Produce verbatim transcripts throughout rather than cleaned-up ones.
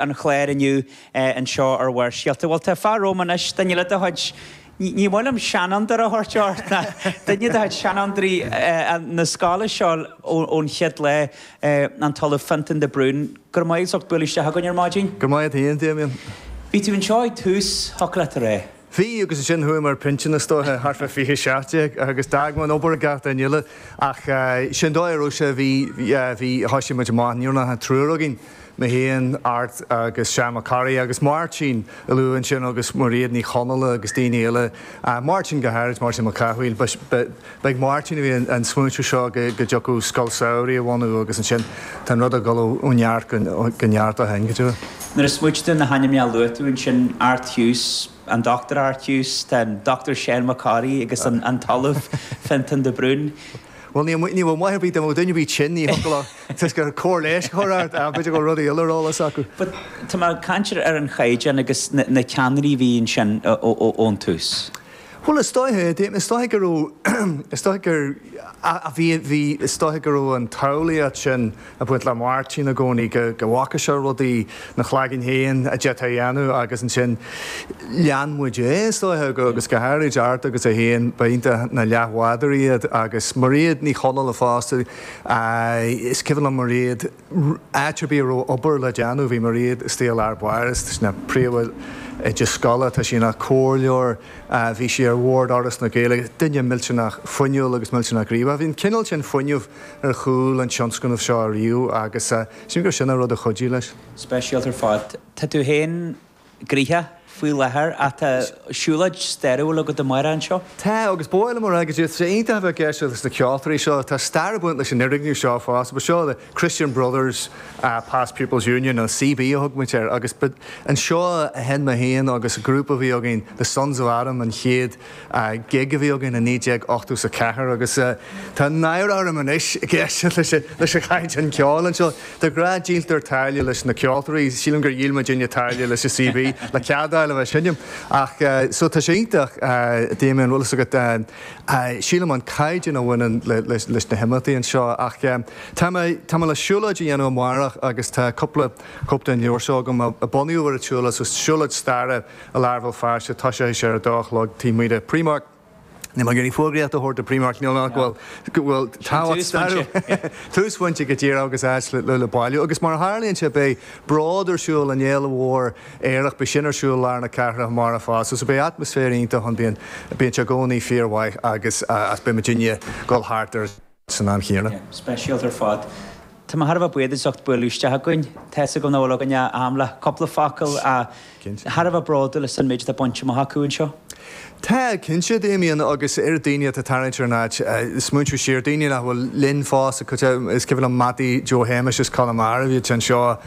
an chláir inniu anseo ar Bharrscéalta. Bhuel tá fear romham anois, duine eile de chuid, ní maith liom seanfhondúir a thabhairt ort, ná duine de chuid seanfhondúirí na scoile seo ón chéad lá, an tOllamh Fintan de Brún. Go raibh maith agat as ucht bualadh isteach againn ar maidin. Go maith féin, Damien. Bhí tú anseo ag tús, thiocfadh leat a rá. Bhí agus ansin chuaigh mé ar pinsean is dóiche thart fá fiche seacht déag agus d'fhág mé an obair ag gach duine eile ach sin dóigh a raibh sé, bhí, bhí, thoisigh muid amach, ní raibh ach an triúr againn, mé féin, Art agus Seán Mac Corraidh agus Máirtín a luadh ansin agus Mairéad Ní Chonaola agus daoine eile, Máirtín go háirid, Máirtín Mac Cathmhaoil. Ba ag Máirtín a bhí an smaointiú seo go dtiocfadh scoil samhraidh a bhunú agus ansin tá an rud ag dul ó neart go neart ó shin, go deimhin. Nuair a smaoitigh tú ar na hainmneacha a luaigh tú ansin, Art Hughes, an Dochtúir Art Hughes, tá an Dochtúir Seán Mac Corraidh agus an tOllamh Fintan de Brún. Bhuel, ní ní bhfuil maith ar bith dá mbeadh duine ar bith tinn, ní thiocfadh leo toisc gur cóir leighis a chur ort, ach b'fhéidir go bhfuil rudaí eile ar eolas acu. But tá mé ag caint ar an chaighdeán agus na ceannairí a bhí ansin ón tús. Bhuel, is dóiche, is dóiche go raibh, is dóiche gur, a bhí, bhí, is dóiche go raibh an tsamhlaíocht sin ag baint le Máirtín i gcónaí, go, go bhfaca sé rudaí ina chlaigeann féin a d'fhéadfá a dhéanamh agus ansin lean muid é, is dóiche, agus go háirid Art agus é féin, ba iontach na leathbhádóirí iad agus Mairéad Ní Chonaola fosta, is cuimhin liom Mairéad, áit ar bith a raibh obair le déanamh, bhí Mairéad istigh i lár báire, tá sí ina príomhoide scoile, tá sí ina comhairleoir, bhí sí ar bhord Fhoras na Gaeilge, duine millteanach fuinniúil agus millteanach gníomhach. Bhí an cineál sin fuinnimh ar chúl an tionscnaimh seo ariamh agus sílim gur sin an rud a chuidigh leis. Speisialta ar fad. Tá tú féin gnoitheach faoi láthair ach tá siúlóid stairiúil agat amárach anseo. Tá, agus ba mhaith liom a rá go dtí, tá sé iontach a bheith ag éisteacht leis na ceoltóirí seo, tá stair ag baint leis an fhoirgneamh seo fosta, ba seo the Christian Brothers Past Pupils Union, nó CB a thug muid air, agus ba anseo a sheinn mé féin agus grúpa a bhí againn, The Sons of Adam, an chéad gig a bhí againn i naoi déag ochtó is a ceathair agus tá náire orm anois ag éisteacht leis leis an chaighdeán ceoil anseo. De ghnáth díoltar táille leis na ceoltóirí, sílim gur dhíol muidinne táille leis an CB le cead a fháil a bheith ag seinm. Ach so tá sé iontach, Damien, bhfuil fhios agat, sílim an caighdeán a bhaineann leis na himeachtaí anseo ach tá mé tá mé le siúlóid a dhéanamh amárach agus tá cúpla cóip den leabhar seo agam a bunaíodh ar an tsiúlóid, so siúlóid staire i lár Bhéal Feirste, toiseoidh sé ar a dó a chlog taobh amuigh de Primark. Níl mé ag iarraidh fógraíocht a thabhairt do Primark, níl ach go bhfuil go bhfuil tábhacht stairiúil túsphointe go díreach agus áit le le bailiú. Agus mar a tharlaíonn sé beidh Bród ar siúl, an fhéile mhór aerach, beidh sin ar siúl i lár na cathrach amárach fosta. So beidh atmaisféar iontach ann, bíonn bíonn sé i gcónaí fíormhaith agus agus beidh muidinne ag dul thart air san am chéanna. Yeah, speisialta ar fad. Tá mé thar a bheith buíoch as ucht bualadh isteach againn. Tá fhios agam nach bhfuil againn ach am le cúpla focal ach thar a bheith bródúil as an méid atá bainte amach acu anseo. Tá, cinnte, Damien, agus oiread daoine atá ag tarraingt ar an áit, smaointiú siar, daoine nach bhfuil linn fós, is cuimhin liom Mattie Joe Shéamais as Conamara, bhíodh sé anseo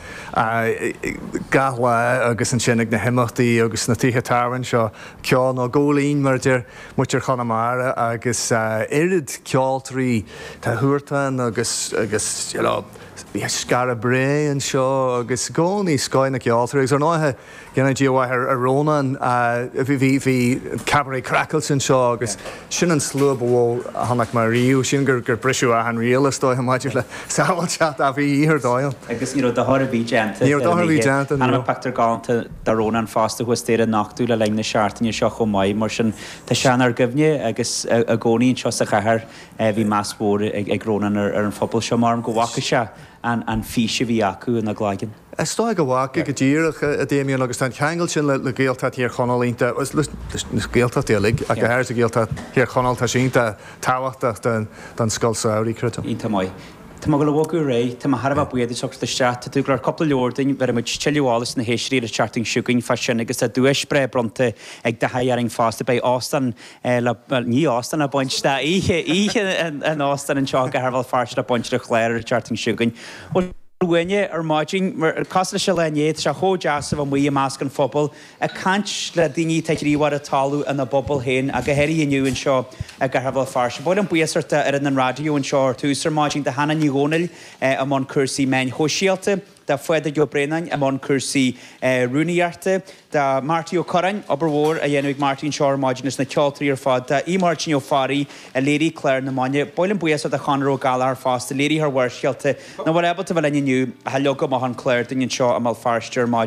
gach lá agus ansin ag na himeachtaí agus sna tithe tábhairne seo, ceol nó góilín mar a deir muintir Chonamara agus oiread ceoltóirí, tá Huartan agus agus you know bhí Skara Brae anseo agus i gcónaí scoth na gceoltóirí agus ar ndóighe Go ndéana Dia mhaith ar Rónán. Bhí bhí Cabaret Craiceáilte anseo agus sin an slua ba mhó a chonaic mé riamh. Sílim gur gur briseadh achan riail is dóiche maidir le sábháilteacht ach bhí oíche ar dóigh ann. Agus ní raibh dochar ar bith déanta Ní raibh dochar ar bith déanta, ní Chonaic raibh. pictiúr galánta de Rónán fosta thuas staighre a nochtadh le linn na seachtaine seo chomh maith. Mar sin tá sé inár gcuimhne agus i gcónaí anseo sa chathair bhí meas mhór ag Rónán ar an phobal seo. Mar go bhfaca sé an fís a bhí acu ina gcloigeann. Is dóigh go bhfaca go díreach, a Damien, agus tá an ceangal sin le Gaeltacht Thír Chonaill iontach, leis na Gaeltachtaí uilig, ach go háirithe Gaeltacht Thír Chonaill, tá sé iontach tábhachtach don scoil samhraidh, creidim. Iontach maith. Tá mé ag dul a bhogadh ar aghaidh. Tá mé thar a bheith buíoch duit as teacht isteach. Tá tú ag dul ar cúpla leabhar dúinn, bhéarfaidh muid tuilleadh eolais na héisteoirí ar an tseachtain seo chugainn fá sin agus tá duais breá bronnta ag Daithí orainn fosta. Beidh óstán le, bhuel ní óstán le baint, tá oíche, oíche in óstán anseo i gCathair Bhéal Feirste le baint ar an chlár ar an tseachtain seo chugainn. Bhuel, uainne ar maidin, mar cosúil leis an lá inné, tá sé chomh deas a bheith amuigh i measc an phobail, ag caint le daoine atá gníomhach ar an talamh ina bpobal féin, ach go háirithe inniu anseo i gCathair Bhéal Feirste. Ba mhaith liom buíochas a thabhairt d'fhoireann an raidió anseo ar tús ar maidin, do Hannah Ní Dhomhnaill i mbun cúrsaí meáin shóisialta, Do Phádraig Ó Braonáin i mbun cúrsaí rúnaíochta, do Marty Ó Curráin, obair mhór á dhéanamh ag Marty anseo ar maidin is na ceoltóirí ar fad, do Aodh Máirtín Ó Fearraigh a léirigh clár na maidine. Ba mhaith liom buíochas do Chonor Ó Gallchóir fosta, léiritheoir Bharrscéalta, nach bhfuil ábalta bheith linn inniu ach a leag amach an clár dúinn anseo i mBéal Feirste ar maidin.